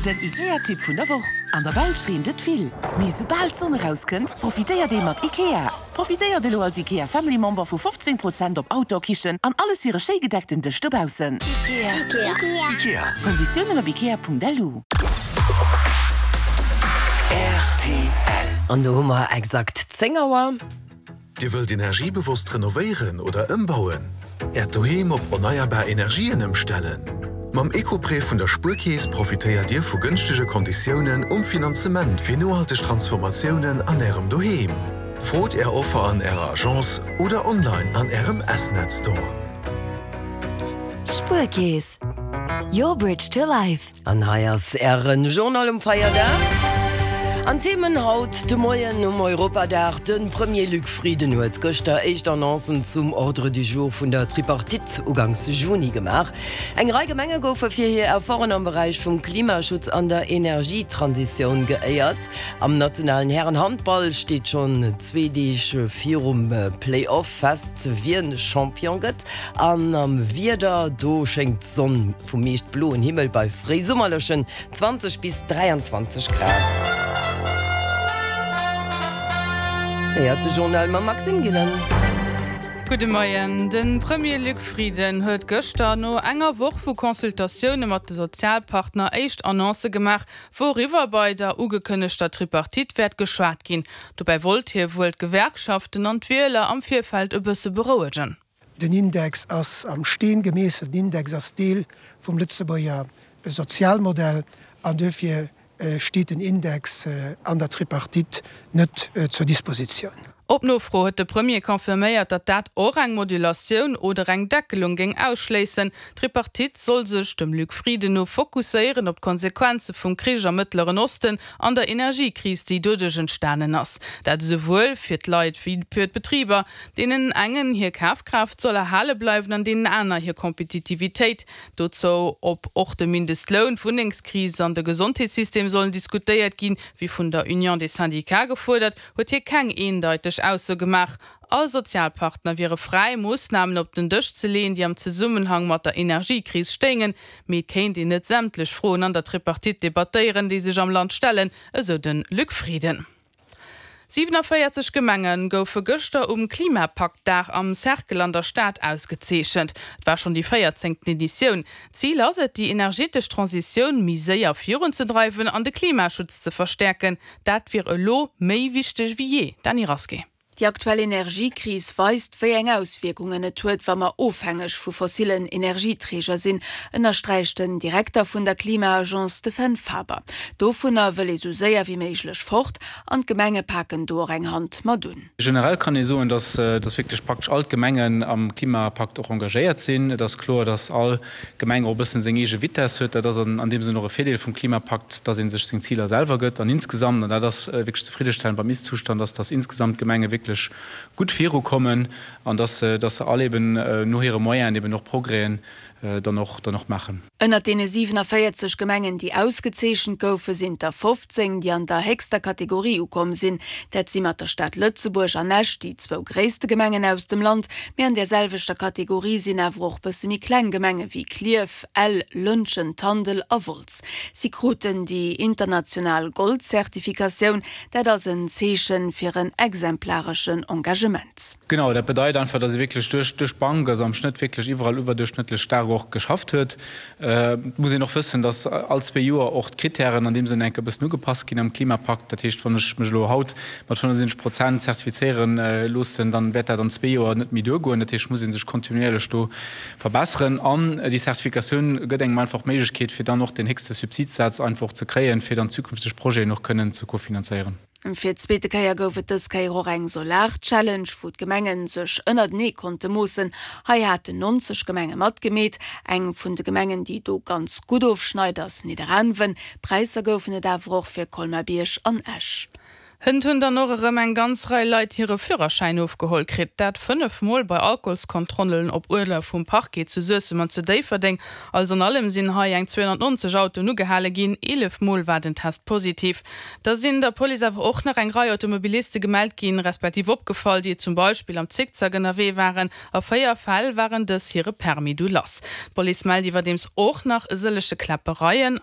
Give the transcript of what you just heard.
Den IKEA-Tipp vun der Woch, An der Belsch reent et vill, mee soubal d'Sonn erauskënnt, profitéiert ee mat IKEA. Profitéiert elo als IKEA Family Member vu 15 Prozent op Outdoor-Kichen an alles fir e schéi gedeckten Dësch dobaussen. IKEA. Konditiounen op ikea.lu. Rtl. An do hu mer exakt 10 Auer. Dir wëllt energiebewosst renovéieren oder ëmbauen? Äert Doheem op erneierbar Energien ëmstellen? Mam Ecoprêt vun der Spuerkeess profitéiert Dir vu gënschtege Konditiounen um Finanzement fir nohalteg Transformatiounen an Ärem Doheem. Frot Är Offer an Ärer Agence oder online an Ärem S-Net Store. Spuerkeess, your bridge to life. An hei ass Ären Journal um Feierdag. An Themen haut de Moien um Europadag, De Premier Luc Frieden huet gëschter éischt Annoncen zum Ordre du jour vun der Tripartite uganks Juni gemaach. Eng Rei Gemenge goufe fir hir Efforten am Beräich vum Klimaschutz an der Energietransitioun geéiert. Am nationalen Hären-Handball steet schonn zwee Deeg virum Play-Off fest, wien Champion gëtt. An am Wieder, do schéngt d'Sonn Vum meescht bloen Himmel bei fréisummerlechen 20 bis 23 Grad. Héiert de Journal mam Maxime Gillen. Gudde Moien. De Premier Luc Frieden huet gëschter no enger Woch vu Consultatioune mat de Sozialpartner éischt Annoncë gemaach, wouriwwer bei der ugekënnegter Tripartite wäert geschwat ginn. Dobäi wollt hie wuel d'Gewerkschaften an d'Wieler am Virfeld e bësse berouegen. Den Index ass am Steen gemeesselt. Den Index ass Deel vum Lëtzebuerger Sozialmodell an duerfir steet den Index an der Tripartite net zur Dispositioun. Op Nofro huet de Premier confirméiert, datt dat och eng Modulatioun oder eng Deckelung géing ausschléissen. D'Tripartite soll sech, dem Luc Frieden no, fokusséieren op d'Konsequenze vum Krich am Mëttleren Osten an der Energiekris, déi doduerch entstanen ass. Dat esouwuel fir d'Leit wéi fir d'Betriber. Deenen engen hir Kafkraaft soll erhale bleiwen an deenen aner hir Kompetitivitéit. Dozou, ob och de Mindestloun, d'Wunnengskris an de Gesondheetssystem sollen diskutéiert ginn, wéi vun der Union des Syndicats gefuerdert, huet hie keng eendeiteg Ausso gemaach. All Sozialpartner wiere fräi, Moossnamen op den Dësch ze leeën, déi am Zesummenhang mat der Energiekris stéingen. Mee et kéint een net sämtlech Froen an der Tripartite debattéieren, déi sech am Land stellen, esou de Luc Frieden. 47 Gemenge goufe gëschter um Klimapakt-Dag am Cercle an der Stad ausgezeechent. Et war schonn déi véierzéngten Editioun. Zil ass et, déi energetesch Transitioun méi séier virunzedreiwen an de Klimaschutz ze verstäerken. Dat wier elo méi wichteg wéi jee. Dany Rasqué. Déi aktuell Energiekris weist, wéi eng Auswierkungen et huet, wa mer ofhängeg vu fossillen Energieträger sinn, ënnersträicht den Direkter vun der Klima-Agence, de Fenn Faber. Dovunner wëll ee sou séier wéi méiglech fort an d'Gemenge paken do och eng Hand mat un. Generell kann ee soen, datt wierklech praktesch all d'Gemengen am Klimapakt och engagéiert sinn. Et ass kloer, datt all Gemeng och e bëssen seng eege Vitess huet. Dat ass an deem Sënn och e Virdeel vum Klimapakt, dass ee sech seng Ziler selwer gëtt. An insgesamt, an dat ass wierklech zefriddestellend beim Ist-Zustand, ass, dass insgesamt d'Gemenge wierklech gutt virukommen an dass se, dass se all eben no hire Moyenen eben och Progrèsen dann och, dann och maachen. Ënnert deene 47 Gemengen, déi ausgezeechent goufen, sinn der 15, déi an der héchster Kategorie ukomm sinn. Dat si mat der Stad Lëtzebuerg an Esch déi zwou gréisste Gemengen aus dem Land. Mee an där selwechter Kategorie sinn awer och bësse méi kleng Gemenge wéi Klierf, Ell, Lëntgen, Tandel a Wolz. Si kruten déi international Gold-Zertifikatioun. Dat ass en Zeeche fir en exemplareschen Engagement. Genau, dat bedeit einfach, datt ee wierklech duerch duerch d'Bank, also am Schnëtt wierklech iwwerall iwwerduerchschnëttlech staark och geschafft huet. Et muss een och wëssen, datt all zwee Joer och d'Krittären an deem Sënn enk e bëssen ugepasst ginn am Klimapakt. Dat heescht, wann ech mech elo haut mat 75 Prozent zertifizéiere loossen, dann wäert dat an zwee Joer net méi duergoen. Dat heescht, et muss ee sech kontinuierlech do verbesseren. An déi Zertifikatioun gëtt engem einfach d'Méiglechkeet, fir dann och deen héchste Subsidsaz einfach och ze kréien, fir dann zukünfteg Projeten och kënnen ze kofinanzéieren. Fir d'zweete Kéier gouf et dës Kéier och eng Solar-Challenge, wou d'Gemenge sech ënnertenee konnte moossen. Hei haten 90 Gemenge matgemeet. Eng vun de Gemengen, déi do ganz gutt ofschneit, ass Nidderaanwen. Präisser goufen et awer och fir Colmar-Bierg an Esch. Hënt hunn dann och erëm eng ganz Rei Leit hire Führerschäin ofgeholl kritt. Dat 5 Mol bei Alkoholskontrollen op Uerder vum Parquet zu Suessem an zu Déifferdeng. Alles an allem sinn hei eng 290 Autoen ugehale ginn, 11 Mol war den Test positiv. Da sinn der Police awer och nach eng Rei Automobiliste gemellt ginn, respektiv opgefall, déi zum Beispill am Zickzack ënnerwee waren. A 4 Fäll waren dës hire Permis du lass. D'Police mellt iwwerdeems och nach e sëllege Kläppereien.